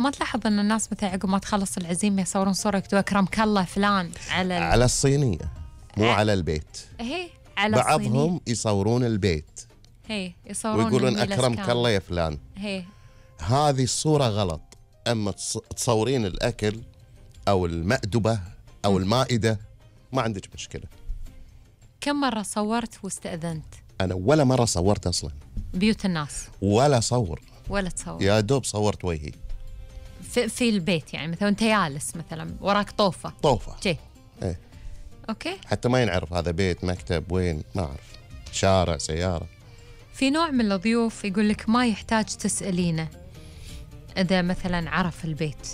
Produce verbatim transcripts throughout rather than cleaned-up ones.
ما تلاحظ أن الناس مثلا عقب ما تخلص العزيمة يصورون صورة يكتبوا أكرمك الله فلان على ال... على الصينية مو ع... على البيت. هي على بعضهم الصينية. يصورون البيت هي يصورون ويقولون أكرمك الله يا فلان. هي هذه الصورة غلط. أما تصورين الأكل أو المأدبة أو المائدة ما عندك مشكلة. كم مرة صورت واستأذنت؟ أنا ولا مرة صورت أصلا بيوت الناس ولا صور ولا تصور، يا دوب صورت وجهي في, في البيت. يعني مثلا أنت جالس مثلا وراك طوفة طوفة جي. إيه. أوكي. حتى ما ينعرف هذا بيت مكتب وين، ما أعرف، شارع سيارة. في نوع من الضيوف يقول لك ما يحتاج تسألينه إذا مثلا عرف البيت،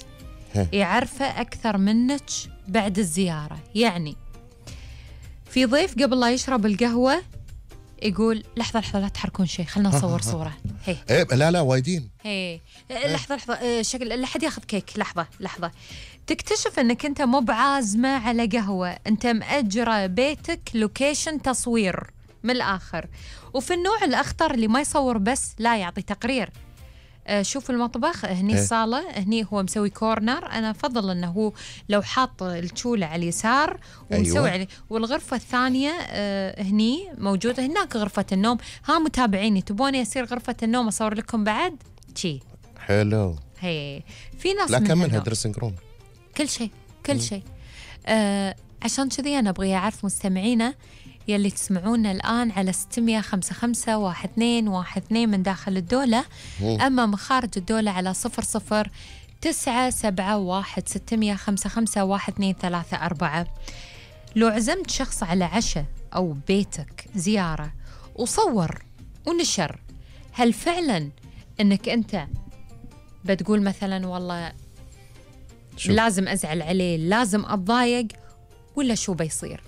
هي. يعرفه أكثر منك بعد الزيارة. يعني في ضيف قبل لا يشرب القهوة يقول لحظة لحظة لا تحركون شيء خلنا نصور صورة. هي إيه لا لا وايدين. هي لحظة لحظة شكل لا حد ياخذ كيك. لحظة لحظة تكتشف أنك أنت مو بعازمة على قهوة، أنت مأجرة بيتك لوكيشن تصوير من الآخر. وفي النوع الأخطر اللي ما يصور بس لا يعطي تقرير. آه شوف المطبخ هني إيه؟ الصالة هني هو مسوي كورنر، أنا أفضل أنه هو لو حاط الشولة على اليسار ومسوي أيوة. عليه، والغرفة الثانية آه هني موجودة هناك غرفة النوم. ها متابعيني تبوني أصير غرفة النوم أصور لكم بعد شي حلو. هي في ناس لا من كملها هذول. دريسنج روم كل شيء كل شيء. آه عشان كذي أنا أبغي أعرف مستمعينا يلي تسمعونا الآن على ستمية خمسة خمسة واحد اثنين واحد اثنين من داخل الدولة. مم. أما من خارج الدولة على صفر صفر تسعة سبعة واحد ستمية خمسة خمسة واحد اثنين ثلاثة أربعة. لو عزمت شخص على عشاء أو بيتك زيارة وصور ونشر، هل فعلا أنك أنت بتقول مثلا والله شو؟ لازم أزعل عليه لازم أتضايق ولا شو بيصير؟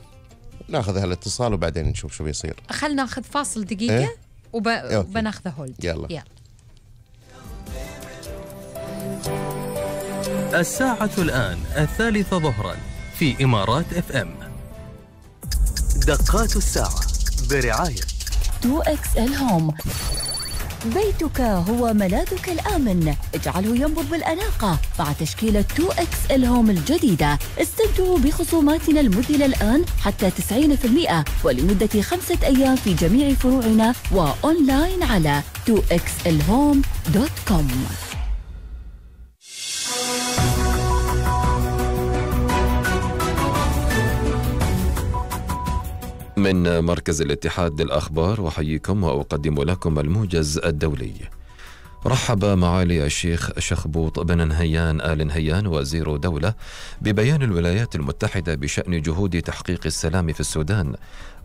ناخذ هالاتصال وبعدين نشوف شو بيصير. خلنا ناخذ فاصل دقيقة. إيه؟ وب... وبناخذه هولد. يلا. يلا. الساعة الآن الثالثة ظهرا في إمارات اف ام. دقات الساعة برعاية تو إكس إل هوم. بيتك هو ملاذك الآمن، اجعله ينبض بالأناقة مع تشكيلة تو إكس إل هوم الجديدة. استمتعوا بخصوماتنا المذهلة الآن حتى تسعين بالمئة ولمدة خمسة أيام في جميع فروعنا وأونلاين على تو إكس إل هوم دوت كوم. من مركز الاتحاد للأخبار وحييكم وأقدم لكم الموجز الدولي. رحب معالي الشيخ شخبوط بن نهيان آل نهيان وزير دولة ببيان الولايات المتحدة بشأن جهود تحقيق السلام في السودان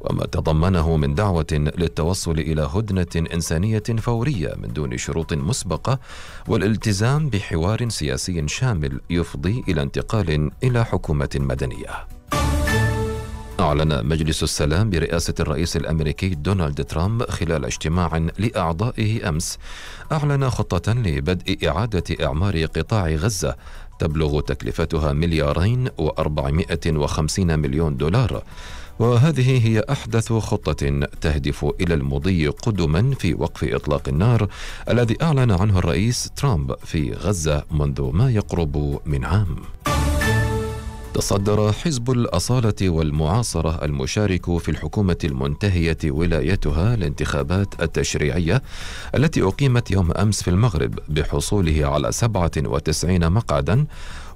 وما تضمنه من دعوة للتوصل إلى هدنة إنسانية فورية من دون شروط مسبقة والالتزام بحوار سياسي شامل يفضي إلى انتقال إلى حكومة مدنية. أعلن مجلس السلام برئاسة الرئيس الأمريكي دونالد ترامب خلال اجتماع لأعضائه أمس أعلن خطة لبدء إعادة إعمار قطاع غزة تبلغ تكلفتها مليارين وأربعمائة وخمسين مليون دولار، وهذه هي أحدث خطة تهدف إلى المضي قدما في وقف إطلاق النار الذي أعلن عنه الرئيس ترامب في غزة منذ ما يقرب من عام. تصدر حزب الأصالة والمعاصرة المشارك في الحكومة المنتهية ولايتها الانتخابات التشريعية التي أقيمت يوم أمس في المغرب بحصوله على سبعة وتسعين مقعدا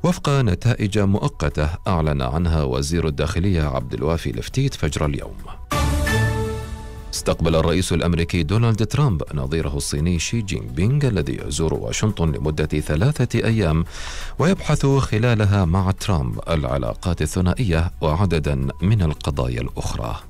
وفق نتائج مؤقتة أعلن عنها وزير الداخلية عبد الوافي لفتيت فجر اليوم. استقبل الرئيس الأمريكي دونالد ترامب نظيره الصيني شي جين بينغ الذي يزور واشنطن لمدة ثلاثة أيام ويبحث خلالها مع ترامب العلاقات الثنائية وعددا من القضايا الأخرى.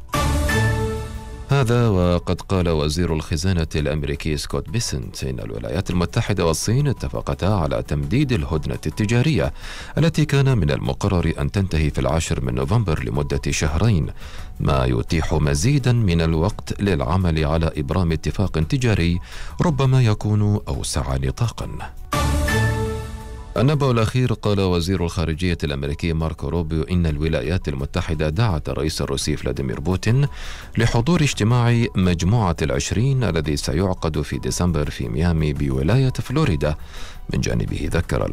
هذا وقد قال وزير الخزانة الأمريكي سكوت بيسنت إن الولايات المتحدة والصين اتفقتا على تمديد الهدنة التجارية التي كان من المقرر أن تنتهي في العاشر من نوفمبر لمدة شهرين، ما يتيح مزيدا من الوقت للعمل على إبرام اتفاق تجاري ربما يكون أوسع نطاقا. النبأ الأخير. قال وزير الخارجية الأمريكي ماركو روبيو إن الولايات المتحدة دعت الرئيس الروسي فلاديمير بوتين لحضور اجتماع مجموعة العشرين الذي سيعقد في ديسمبر في ميامي بولاية فلوريدا. من جانبه ذكر